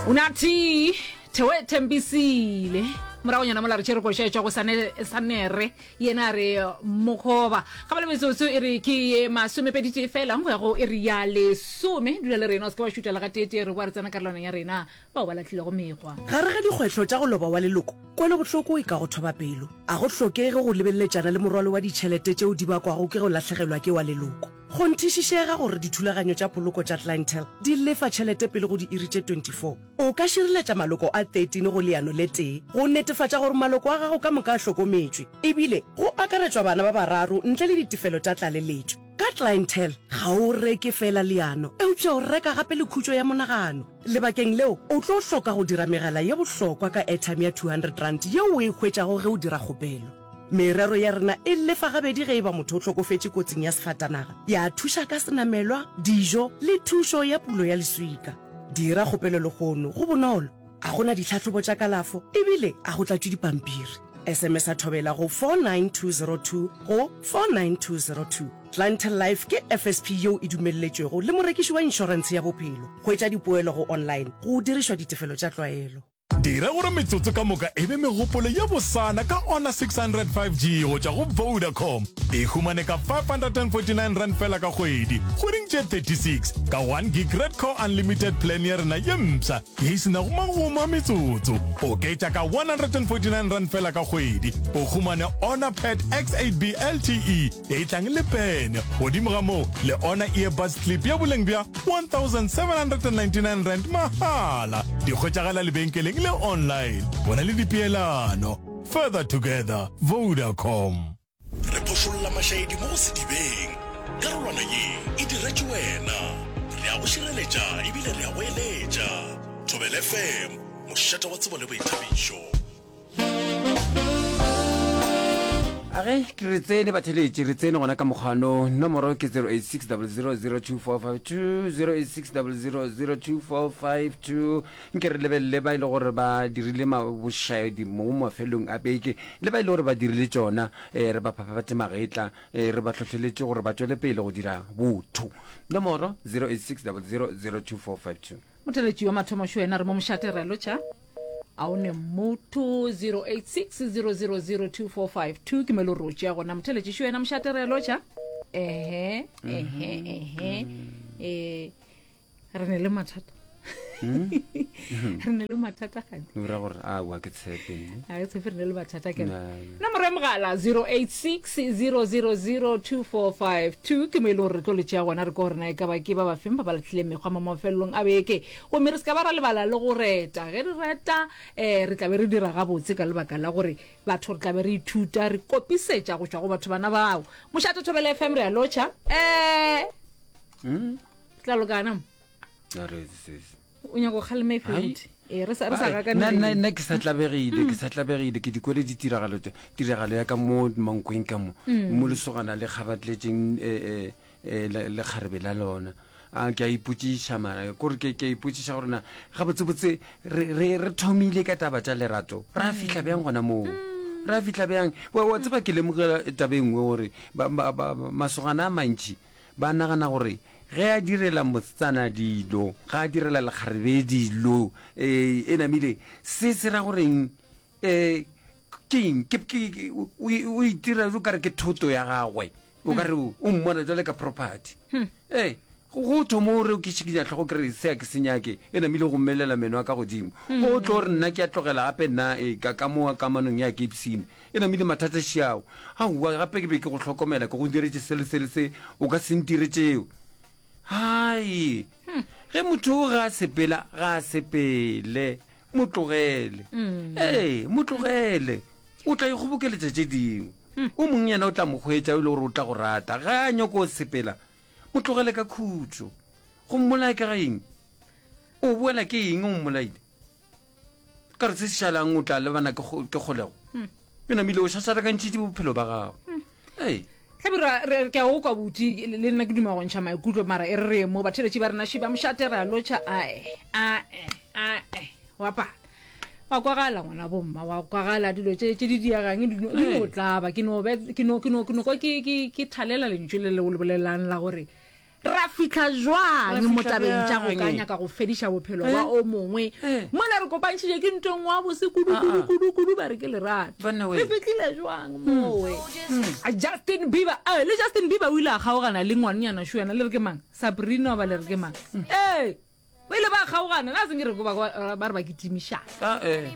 Unathi Thewe Thembisile moragonyana mola re tšere koša e tšwa go Sanere yena a re mokgoba ga ba le metsotso e re ke ye masomepeditee fela go ya go e re ya lesome dula le rena o se ke wa šuta le gateetee re boa re tsena karolwaneng ya rena bao ba lahlilego mekgwa. Gare ga dikgwehlo tša go loba wa leloko, kwelobohloko e ka go thoba pelo. A go hlokege go lebeleletšana le morwalo wa ditšhelete tšeo di bakwago ke go lahlegelwa ke wa leloko. Kgonthišišega gore dithulaganyo tša poloko tša Clientele di lefa tšhelete pele go diiri tše 24. O ka šireletša maloko a 13 go leano le tee go netefatša gore maloko a gago ka moka a hlokometšwe, ebile go akaretšwa bana ba bararo ntle le ditefelo tša tlaleletšo. Ka Clientele, ga o reke feela leano, eupša o reka gape le khutšo ya monagano. Lebakeng leo, o tlo hloka go dira megala ye bohlokwa ka airtime ya R200 yeo o e hwetšago ge o dira kgopelo. Merero ya rena e lefa gabedi ge e ba motho o hlokofetše kotsing ya sefatanaga, ya thuša ka senamelwa, dijo le thušo ya pulo ya leswika. Dira kgopelo lehono, go bonolo, ga go na ditlhahlobo tša kalafo e bile ga go tlatšwe dipampiri. SMS-a Thobela go 49202 go 49202. Clientele Life ke FSP yeo e dumelletšwego le morekiši wa inšorentshe ya bophelo. Hwetša dipoelo go online go dirišwa ditefelo tša tlwaelo. Dira gore metsotso ka moka e be megopolo ye bosana ka Honor 600 5G go tšwa go Vodacom. E humane ka R549 feela ka kgwedi, kgweding tše 36, ka 1 gig Red Core Unlimited plan ya rena ye mpsha ye e se nago magomo a metsotso. Oketša ka R149 feela ka kgwedi, o humane Honor Pad X8B LTE e tlang le pene. Godimo ga moo, le ona earbuds clip ya boleng bja R1799 mahala. Di hwetšagala lebenkeleng le online. Go na le dipeelano. Further together, Vodacom. Re phošolla mašaedi mo go sedibeng. Karolwana ye e diretšwe wena. Re a go šireletša ebile re a go eletša. Thobela FM, mošate wa tsebo le boithabišo. A ge ke re tsene batheletši re tsene gona ka mokgwano nomoro ke 0860002452 0860002452 nke re lebelele ba e le gore ba dirile bošaedi mo mafelong a beke le ba e le gore ba dirile tšona um re ba phaphathe magetla um re ba hlohleletše gore ba tšwele pele go dira botho nomoro 0860002452 Motheletši wa mathomo šo yena re mo mošate re a lotšha. A o ne motho 0860002452 ke melo rotše ya gona motheletši šo yena mošate re a lotšha. Ehe ehe ehe eh re ne le mathata. Re ne le mathata gane. O ra gore aowa ke tshepe nne. A ke tshepe re ne le mathata ke. Na, na. Nomoro ya mogala 0860002452 ke mo e leng gore re tlo le tšea gona re kwa gore na e ka ba ke ba ba feng ba ba lahlile mekgwa mo mafelelong a beke. Gomme re se ka ba ra lebala le go reta. Ge re reta um re tla be re dira gabotse ka lebaka la gore batho re tla be re ithuta, re kopisetša go tšwa go batho bana bao. Mošate Thobela FM re a lotšha. Um tla lokana mo. A re sesi. O nyaka go kgalema efe Hai. buti? Ee, re sa re sa Ai, gakane nna- le nna eng. nna ke sa tlabegile ke sa tlabegile ke di kwele ditiragalo tše- tiragalo ya ka mo mankweng ka mo mo lesogana le kgabatletšeng eh, eh, eh, le lekgarebe la lona a ke a ipotšiša mara kore ke ke a ipotšiša gore na gabotsebotse re re re thomile ka taba tša lerato ra fihla bjang gona moo ra fihla bjang wa wa tseba ke lemogela taba e nngwe gore ba- ba- ba- masogana a mantši ba nagana gore ge a direla mosetsana dilo ga a direla lekgarebe dilo um e namile se se ra goreng um ke eng ke ke ke- o o itira o kare ke thoto ya gagwe o kare o o mmona jwale ka property ee go thoma o re ke šikinya tlhogo ke re se a ke se nyake e namile go mmelela meno a ka godimo o tlo re nna ke a tlogela gape nna e, ka ka mo kamanong ya ke ipsine e namile mathata šiao aowa gape ke be ke go hlokomela ke go diretše se le se le se o ka se ntire tšeo hai ge motho o ga a sepela ga a sepele Mo tlogele. Ee, mo tlogele. O tla ikgobokeletša tše dingwe. O mongwe yena o tla mo hwetša e le gore o tla go rata. Ge a nyoko o sepela, mo tlogele ka khutšo. Go mmolaya ke ga eng? O boela ke eng o mmolaile? Ka re se se šalang o tla lebana ke kgolego. E namile o šašarakantšhitše bophelo ba gago. Ee. Hlabirwa, re, ke a o kwa buti, le nna ke duma go ntšha maikutlo, mara e re re ye mo, batheeletši ba rena, šiba mošate, re a lotšha, ae, ae, ae, wa pala. Wa kwagala ngwana bomma, wa kwagala, dilo tše, tše di diegang di no, di no tlaba, ke no, ke no, ke no, ke no kwa ke, ke, ke thalela lentšu le le o le bolelang la gore. Ra fihla Ra jwang mo fihla tabeng tša go ka bjang? nyaka go fediša bophelo bja Eh? o mongwe? Eh. Mola re kopantšhitše ke ntho e nngwe ya bose kudu, Ah, kudu, ah. kudu, kudu, ba re ke lerato. Banna Re we. fihlile jwang mowe? A Justin Bieber, eh, le Justin Bieber o ile a kgaogana le ngwanenyana šo yena, le re ke mang? Sabrina goba le re ke mang? Ee, ba ile ba kgaogana, na se nke re ko ba, ba re ba kitimišana. Ah, eh.